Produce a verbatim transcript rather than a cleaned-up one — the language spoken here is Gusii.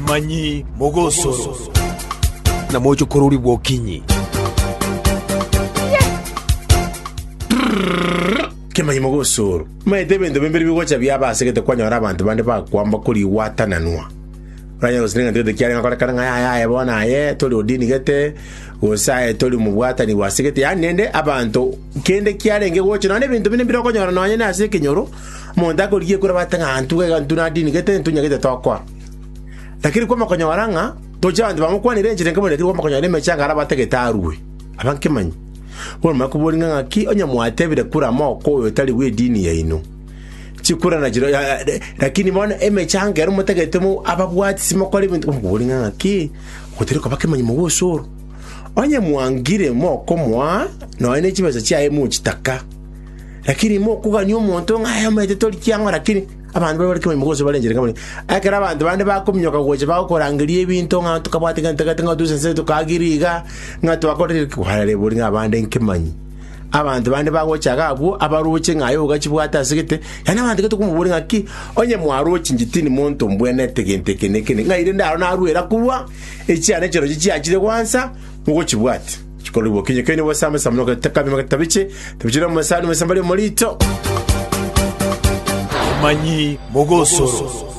Kemanyi Mogosoro. Na mochokorori bwokinyi. Kemanyi Mogosoro. Maete ebinto bimbere bigocha biaba ase gete kwanyora abanto bande bakwamba korigwatananwa. Oranyore gose neng'ento gete kiarenge gokorekana ng'a yaya aye bono aye tori odini gete, gose aye tori mobwatani bwase gete, yaani rende abanto kende kiarenge gocha nonye ebinto binde mbire okonyora nonye na ase ekenyoro, omonto akorigia ekura bate ng'a intwe iga intwe na dini gete intwe nyagete tokoa. Lakini kwama konyora ng'a toche abanto bamokwanire enchera enke mono lakini kwama konyora emechanga aria batagete arue. Aba nkemanyi. Bono manya koboria ng'a ng'aki onye mwatebire kura moko oyo tari bw'edini yaino. Chikura nachiro lakini bono emechango ero motagete mo ababwatisi mokore ebinto okoboria ng'a ng'aki gotari koba kemanyi mogosoro. Onye mwangire mokomoa nonya ne chibesa chiaye mochitaka. Lakini mokogania omonto ng'a aye omanyete tori kiang'o lakini abanto baria bare kemanyi mogoso bare enchera nkamanya. Ekero abanto bande bakominyoka gocha bagokorangeria ebinto ng'a tokabwate gento gete ng'a toise nse tokaagire iga ng'a twakorire ki kwarareboria ng'a abande nkemanyi. Abanto bande bagocha iga abwo abaroche ng'a aye ogachibwate ase gete, yaani abanto gete okomoboria ng'aki onye mwaroche inche tindi monto mbwenerete gento eke na eke na eke, ng'ai rende aro narwera korwa echiane chirochio chiachire gwansa mogochibwatia. Chikorigwa okinye keino bosambe sambe nogotakabima getabiche tabichire omosani omosambari omorito. Kemanyi Mogosoro.